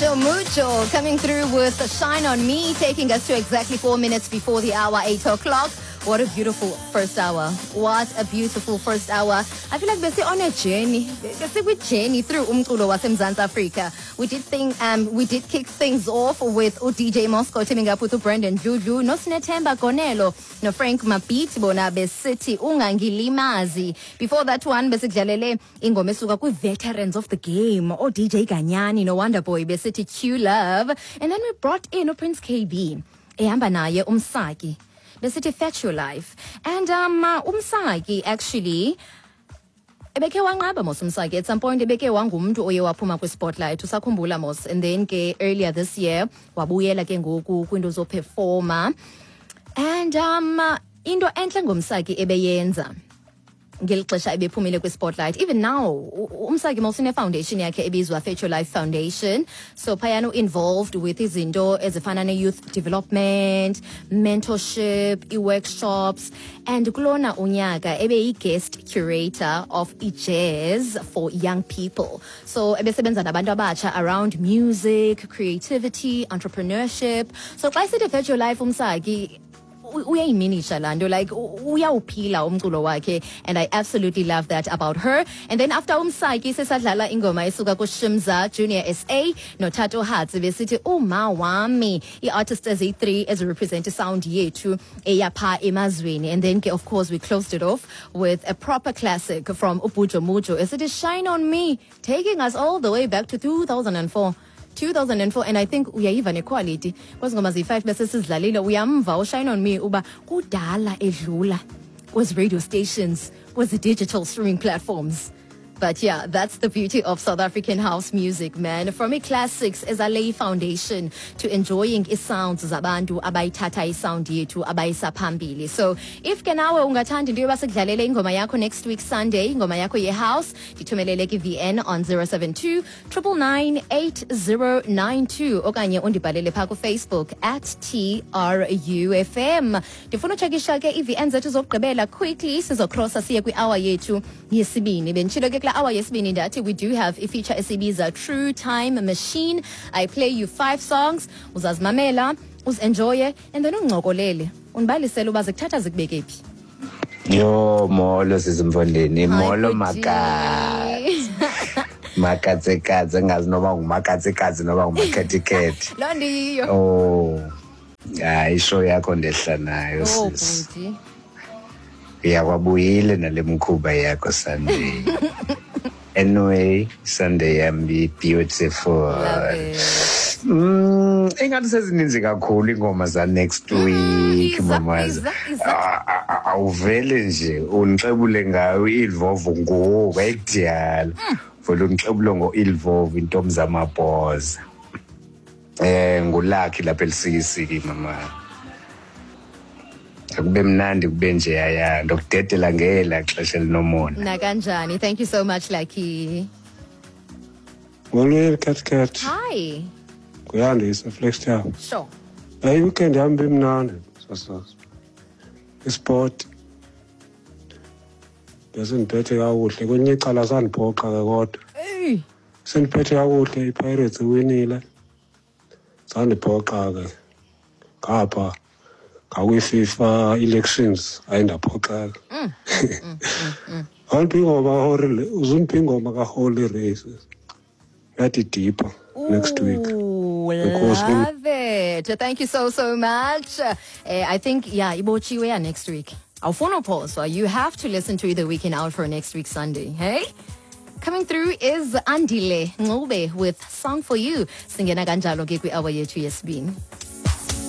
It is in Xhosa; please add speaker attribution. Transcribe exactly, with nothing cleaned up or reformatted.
Speaker 1: Mucho Mucho coming through with Shine On Me, taking us to exactly four minutes before the hour, eight o'clock. What a beautiful first hour. What a beautiful first hour. I feel like besi on a journey. Besi journey through umculo waseMzantsi Africa. We did thing um we did kick things off with D J Moscow teaming up with Brandon Dludlu, no Sinethemba Gonelo, no Frank Mabit bona besithi Ungangilimazi. Before that one besidlalele ingoma esuka kwi veterans of the game, o D J Ganyani no Wonder Boy besithi Q Love. And then we brought in uPrince K B ehamba naye uMsaki besithi Fetch Your Life. And um uh, uMsaki actually ebekhe wanqaba mos. UMsaki at some point ebekhe wangumntu oye waphuma kwi-spotlight, usakhumbula mos? And then ke earlier this year wabuyela ke ngoku kwinto zoperforma. And um into entle ngoMsaki ebeyenza ngeli xesha ebephumile kwi-spotlight, even now u- uMsaki mos une-foundation yakhe ebizwa Fetch Your Life Foundation. So phayana involved with izinto ezifana ne-youth development, mentorship, i-workshops. And kulona unyaka ebeyi-guest curator of i-jazz for young people. So ebesebenza nabantu abatsha around music, creativity, entrepreneurship. So xa esithi Fetch Your Life uMsaki, u- uyayiminisha laa nto, like u- uyawuphila umculo wakhe, and I absolutely love that about her. And then after uMsaki sesadlala ingoma esuka kuShimza Junior S A noTato Hatsi besithi Uma Wami, ii-artists eziyi-three ezirepresent isound yethu eyapha emazweni. And then ke of course we closed it off with a proper classic from uBujo Mujo esithi Shine On Me, taking us all the way back to two thousand and four, two thousand and four. And I think uyayiva nequality kwezi ngoma ziyi-five bese sizidlalile. Uyamva uShine On Me uba kudala edlula kwezi radio stations, kwezi digital streaming platforms. But yeah, that's the beauty of South African house music, man. From i-classics ezalay foundation to enjoying i-sounds zabantu abayithatha isound yethu abayisa phambili. So if ke nawe ungathanda into yoba sikudlalele ingoma yakho next week Sunday, ingoma yakho ye-house, ndithumelele ki-V N on zero seven two nine nine nine eight zero nine two okanye undibhalele phaa kuFacebook at T R U F M. Ndifuna utshekisha ke i-V N zethu zokugqibela quickly, sizocrossa siye kwi-hour yethu yesibini. Benditshilo ke kula hour yesibini ndathi we do have ifeature esibiza True Time Machine. I play you five songs, uzazimamela, uzenjoye and then ungincokolele, undibalisele uba zikuthatha zikubeke phi.
Speaker 2: Yo, molo sisi Mfondini,
Speaker 1: Hi,
Speaker 2: molo.
Speaker 1: bhuti.
Speaker 2: Makatse. Makatsekatse, engazi noba ngumakatsekatse noba ngumakhetikhethe.
Speaker 1: Loo nto iyiyo.
Speaker 2: Oh. Hayi, ishow yakho ndehla nayo,
Speaker 1: Oh,
Speaker 2: sis.
Speaker 1: bhuti.
Speaker 2: Yakwabuyile nale mkhuba yakho Sunday. Anyway, Sunday yami beautiful.
Speaker 1: Love it.
Speaker 2: Mm, ingathi sezininzi kakhulu ingoma za next week,
Speaker 1: Iza,
Speaker 2: mamaza.
Speaker 1: iza, iza.
Speaker 2: Ah, ah, ah, Awuvele nje unixebule ngayo iLvovo ngoku ayikudiyala. Vele unixebule ngo-Ilvovo, intombi zamabhoza. Eh ngulakhi lapha eLusikisiki, mama. Akube mnandi, kube nje yaya ndokudedela ngela xesha elinomona.
Speaker 1: Nakanjani. Thank you so much, Lucky.
Speaker 3: Molweni, Cat Cat.
Speaker 1: Hi.
Speaker 3: Kuyandisa Flagstaff.
Speaker 1: Sure.
Speaker 3: Hayi, weekend yami bimnandi sasazi. Isport. Bese ngiphethe kakuhle, kwenye icala sandiphoxa ke kodwa.
Speaker 1: Hey.
Speaker 3: Sendiphethe kakuhle, iPirates iwinile. Sandiphoxa ke. Ngapha ngakwi-FIFA elections ayindaphoxeka. Awundiphi ingoma kaHoly, uzundiphi ingoma kaHoly Races. Yathi Deeper next week.
Speaker 1: Ooh,
Speaker 3: Enkosi.
Speaker 1: Love it. Thank you so, so much. Uh, I think, yeah, ibotshiwe ya next week. Awufuna uphoswa. You have to listen to the weekend out for next week Sunday. Hey? Coming through is Andile Ncube with Song for You. Singena kanjalo ke kwi-hour yethu yesibini.